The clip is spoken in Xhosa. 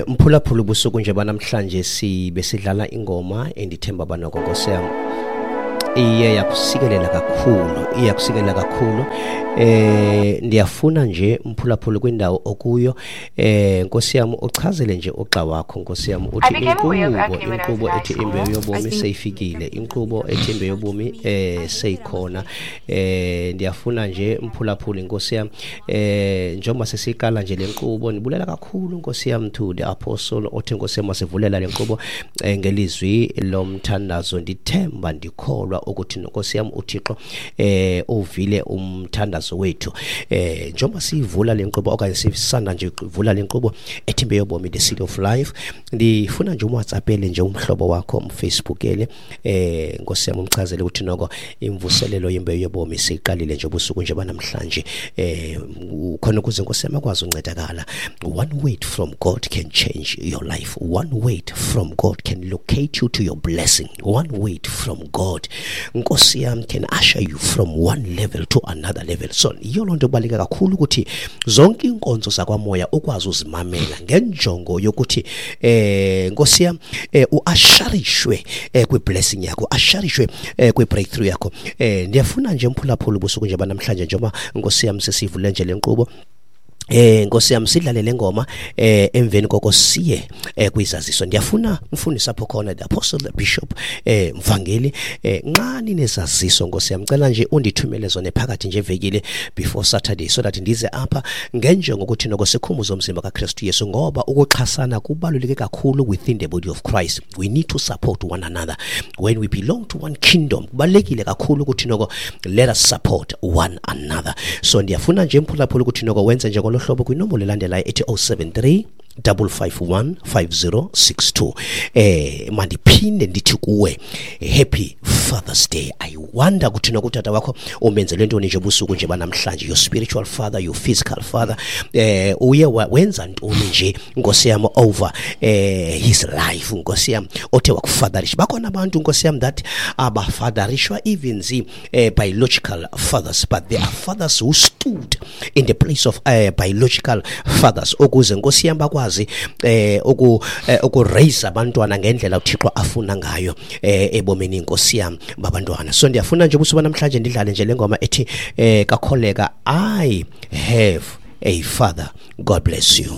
Mphulaphula, ubusuku nje banamhlanje sibe sidlala ingoma endithemba banoko, Nkosi yam, iye yakusikelela kakhulu, iye yakusikelela kakhulu. Ndiyafuna nje, mphulaphula, kwindawo okuyo, Nkosi yam, uchazele nje ugxa wakho, Nkosi yam, uthi inkqubo ethi Imbewu Yobomi seyifikile, inkqubo ethi Imbewu Yobomi seyikhona. Ndiyafuna nje, mphulaphula, inkosi yam, njengoba sesiqala nje le nkqubo, ndibulela kakhulu, Nkosi yam, to the apostle othi, Nkosi yam, wasivulela le nkqubo ngelizwi lomthandazo. Ndithemba, ndikholwa ukuthi, Nkosi yam, uThixo uvile umthandazo wethu njengoba siyivula le nkqubo okanye sisanda nje ivula le nkqubo ethi Imbewu Yobomi, the Seed of Life. Ndifuna nje umWhatsAppele nje umhlobo wakho, umFacebookele, Nkosi yam, umchazele ukuthi noko imvuselelo yembewu yobomi siyiqalile nje ubusuku nje banamhlanje, khona ukuze, Nkosi yam, akwazi uncedakala. One word from God can change your life. One word from God can locate you to your blessing. One word from God, Nkosi yam, can usher you from one level to another level. So yiyo loo nto kubaluleke kakhulu ukuthi zonke iinkonzo zakwamoya ukwazi uzimamela ngenjongo yokuthi, Nkosi yam, uasharishwe kwi-blessing yakho, asharishwe kwi-breakthrough yakho. Ndiyafuna nje, mphulaphula, ubusuku nje banamhlanje, njengoba, Nkosi yam, sesivule nje le nkqubo, Nkosi yami, sidlale le ngoma, emveni koko siye kwizaziso. Ndiyafuna mfundisi apho khona, the apostle, the bishop, mvangeli, nxa ninezaziso, Nkosi yami, cela nje undithumele zona phakathi nje evekile before Saturday, so that ndize apha ngenjongo ukuthi noko sikhumbuze umzimba kaKristu Yesu, ngoba ukuxhasana kubaluleke kakhulu within the body of Christ. We need to support one another when we belong to one kingdom. Kubalulekile kakhulu ukuthi noko let us support one another. So ndiyafuna nje, mphulaphula, ukuthi noko wenze nje ngolo hlobo kwinombolo elandelayo ethi 073 551 5062. Mandiphinde ndithi kuwe, happy Father's Day. I wonder ukuthi nokutata wakho umenzele ntoni nje ubusuku nje banamhlanje, your spiritual father, your physical father. Uye wenza ntoni nje, Nkosi yam, over his life, Nkosi yam, othe wakufatherisha? Bakhona abantu, Nkosi yam, that abafatherishwa even zi biological fathers, but there are fathers who stood in the place of biological fathers ukuze, Nkosi yam, bakwazi uku raise abantwana ngendlela uThixo afuna ngayo ebomini, Nkosi yam, babantwana. So ndiyafuna nje ubusuku namhlanje ndidlale nje le ngoma ethi kakholeka, "I Have a Father". God bless you.